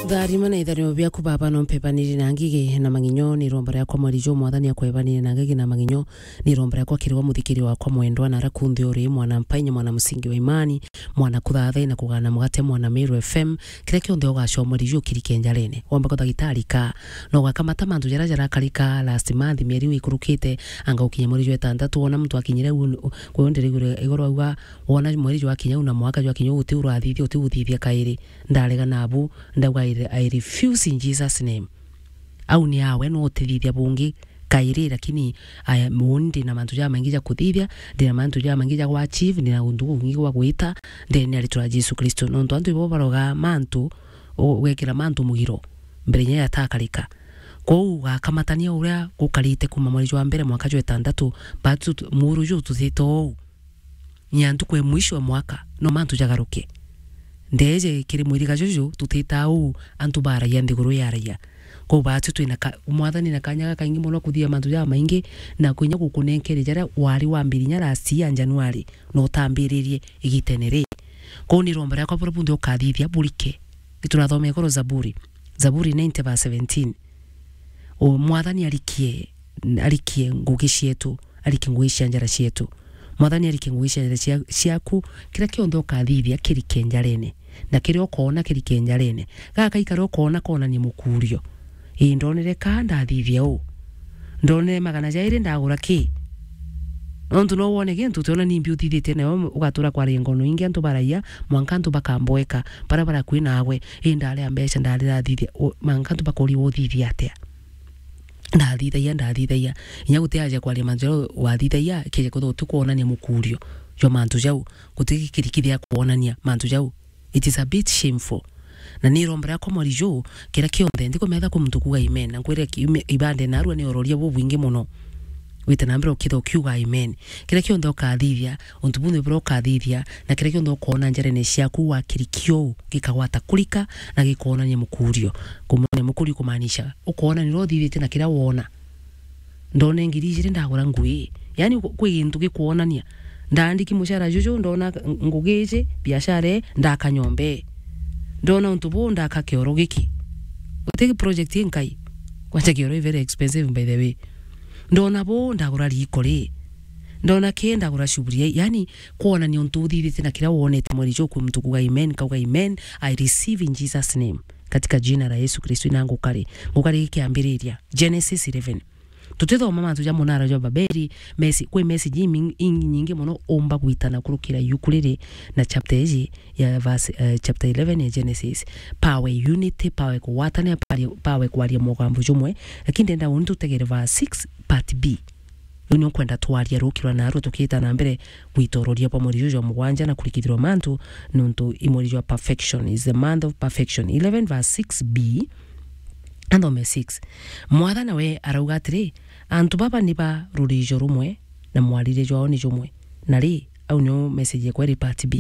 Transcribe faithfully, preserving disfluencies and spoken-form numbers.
Tharima na itharimo biaku, Baba, no mpebanire na ngigi na mang'inyo, ni iromba riakwa mweri juu, Mwathani akwebanire na ngigi na mang'inyo, ni iromba riakwa kiri we muthikiri wakwa mwendwa, na ara kunthe uri, mwana mpainya, mwana musingi wa imani, mwana kuthathai na kugana mugate, mwana Meru F M, kiria kionthe ugacua mweri juu kirike njarene. Wamba kwa thagitari ka, na ugakamata mantu jaria jarakarika last month, mieri iu ikurukite, anga ukinya mweri jwa itantatu, wona muntu akinyire u-, kwi u ndirigure igoro auga, wona mweri jwakinya u na mwaka jwakinya u, uti urathithia, uti uthithia kairi. Ndarega nabu, ndauga, I, I refuse in Jesus name. Au ni awe, no utithithia bungi kairi, lakini aya, uni ndi na mantu jamaingi ja kuthithia, ndi na mantu jamaingi ja gwa achieve, ndi na untu bungi gwa gwita ndene ya ritwa ria Jesu Kristo. Nontu antu ibo baroga mantu, u-, ugekira mantu mugiro mbere inya yatakarika. Kwou ugakamatania uria gukarite kuma mweri jwa mbere mwaka jwa itantatu, but tu-, muru ju tuthite ou. Nya ntuku ya mwisho ya mwaka, no mantu jagaruke. Ndeeje kiri mwiriga juju, tutitaa uu, antu baaragia, nthiguru yaaragia. Kwou baatu twina ka-, Mwathani na kanya gakaingi mono kuthithia mantu jamaingi, na kwinya gukunenkere jaria wari wambirinya last year January, na utambiririe igitene ri. Kwou ni iromba riakwa buria bunthe ukathithia burike. Giturathome igoro Zaburi. Zaburi ninety verse seventeen. O Mwathani arikie, arikie ngugi cietu, arikie ngugi cia njara cietu. Mwathani arikie ngugi cia njara cia-, ciaku, kiria kionthe ukathithia kirike njarene, na kiria ukoona kirike njarene. Gaka ikara ukoona koonania mukuurio. Ii, ndonere kaa ndathithia uu. Ndonere magana jairi ndagura ki? Nontu no wone gintu utiona nimbi uthithitie nayo ugatura kwaria ngono ingi antu baraia, mwanka antu bakamboeka, baria barakui naagwe. Ii, ndaria mbeca, ndarirathithia, u-, mwanka antu bakoria uthithia atia? Ndathithagia, ndathithagia. Inya guti aja kwaria mantu jau wathithagia, kija kwithirwa uti kwonania mukurio jwa mantu jau, guti gikirikithia kwonania mantu jau. It is a bit shameful. Na ni iromba riakwa mweri juu, kiria kionthe, ndikumetha kwi muntu kuuga amen. Na nkwire ki-, ime-, ibande narua ni uroria bubwingi mono. Wite na mbere ukitha ukiuga amen. Kiria kionthe ukathithia, untu bunthe buria ukathithia, na kiria kionthe ukoona njarene ciaku wakirikio uu, gikagwata kurika na gikoonania mukurio. Kumonania mukurio kumaanisha, ukoonania uria uthithitie na kiria woona. Ndone ngiri ijiri ndagura ngui. Yaani, kwi gintu gikwonania. Ndaandiki mucara juju, ndona ngugi iji, biashara ii, ndaka nyomba ii. Ndona untu buu, ndaka kioro giki. Guti project inkai. Kwanja kioro i very expensive, by the way. Ndona buu, ndagura riiko ri. Ndona kii, ndagura shuburia ii. Yaani, kwonania untu uthithitie na kiria wonete mweri juu kwi muntu kuuga amen, kauga amen, I receive in Jesus name. Katika jina la Yesu Kristo, ina ngukari. Ngukari gikiambiriria. Genesis eleven. Tutithoma mantu ja munara jwa Babeli, mesi-, kwi message imi-, inyingi mono umba gwitana kurukira yuku riri na chapter iji ya verse, eh, chapter eleven ya Genesis. Power unity, power kugwatania, power, power kwaria mugambo jumwe. Lakini ndenda uni tutegere verse six part B. Riu ni ukwenda twaria rukirwa narua tukiita na mbere gwitororia bwa mweri juju jwa mugwanja na kurikithirwa mantu, nontu i mweri jwa perfection, is the month of perfection. Eleven verse six B, Athome six. Mwathani we arauga atiri, antu baba ni ba rurijo rumwe, na mwarire jwao ni jumwe. Na ri, au nio message yakwa iri part B.